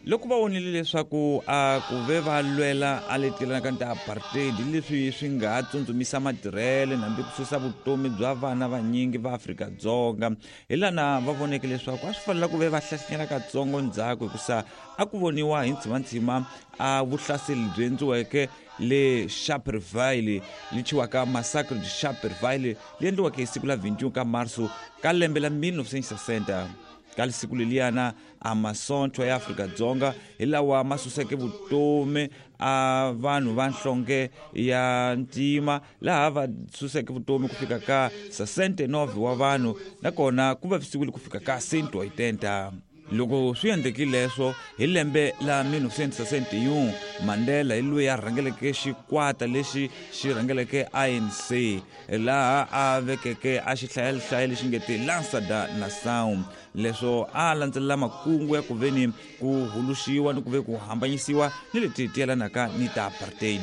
Loko va vonile leswaku a ku ve va lwela a leti yelanaka ni ti-apartheid leswi swi nga ha tsundzumisa matirhele hambi ku susa vutomi bya vana vanyingi va Afrika-Dzonga, hi lana va voneke leswaku a swi fanela ku ve va hlahlinyela katsongo ndzhaku, hikusa a ku voniwa hi ntshimantshima a vuhlaseli byi endliweke le Sharpeville, li thyiwaka Massacre de Sharpeville, li endliweke hi siku la 21 ka Marso ka lembe la 1960. Ka siku leliyana a masontho ya Afrika-Dzonga hi lawa ma suseke vutomi a vanhu va nhlonge ya ntima, laha va suseke vutomi ku fika ka 69 wa vanhu, nakona ku vavisiwile ku fika ka 180. Loko swi endlekile leswo hi lembe la 1961, Mandela hi loyi a rhangeleke xikwata lexi xi rhangeleke ANC, laha a vekeke a xihlayahlaya lexi nge te Lança da Nação. Leswo a landzelela makungu ya ku veni ku huluxiwa ni ku ve ku hambanyisiwa ni leti ti yelanaka ni ta apartheid.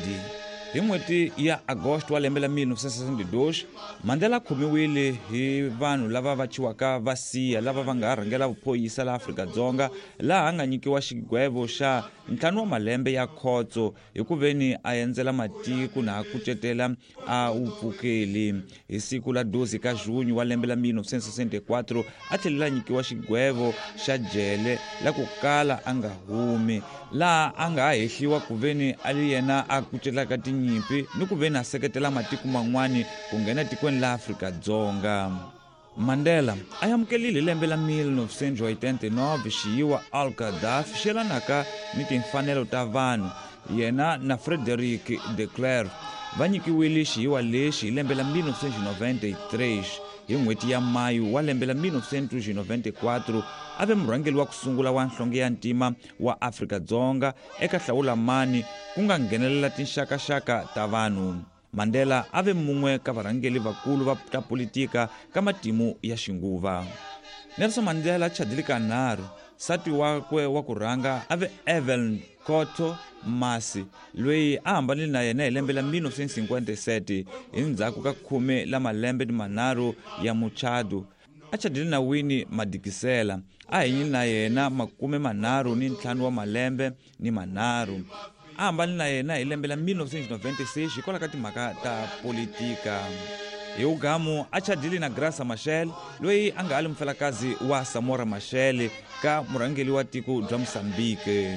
Hi n'hweti ya Agosto wa lembe la 1962, Mandela a khomiwile hi vanhu lava va thyiwaka va siya lava va nga ha rhangela vuphoyisa la Afrika-Dzonga, laha a nga nyikiwa xigwevo xa 5 wa malembe ya khotso hi ku veni a endzela matiko na a kucetela a wu pfukeli. Hi siku la 12 ka Junho wa lembe la 1964, a tlhelele a nyikiwa xigwevo xa jele la ku kala a nga humi, laha a nga ha hehliwa ku veni a li yena a kucetelaka tinyimpi ni ku veni a seketela matiko man'wani ku nghena tikweni la Afrika-Dzonga. Mandela a amukelile hi lembe la 1989 xiyiwa Al-Gaddafi xi yelanaka ni timfanelo ta vanhu. Yena na Frederik de Klerk va nyikiwile xiyiwa lexi hi lembe la 1993. Hi n'hweti ya Mayu wa lembe la 1994, a ve murhangeri wa ku sungula wa nhlonge ya ntima wa Afrika-Dzonga eka hlawulamani ku nga nghenelela tinxakaxaka ta vanhu. Mandela a ve mun'we ka varhangeli vakulu va ta politika ka matimu ya xinguva. Nelson Mandela a chadile kanharhu. Nsati wakwe wa ku rhanga a ve Evelyn Khotho Masi, loyi a hambanile na yena hi lembe la 1957 hi ndzhaku ka khume la malembe ni manharhu ya muchado. A chadile na Winnie Madikizela, a hanyile na yena makume manharhu ni ntlhanu wa malembe ni manharhu. A hambanile na yena hi lembe la 1996 hikwalaho ka timhaka ta politika. Hi wugamu a chadile na Graça Machel, loyi a nga ha li mufelakazi wa Samora Machel ka murhangeri wa tiko bya Mozambique.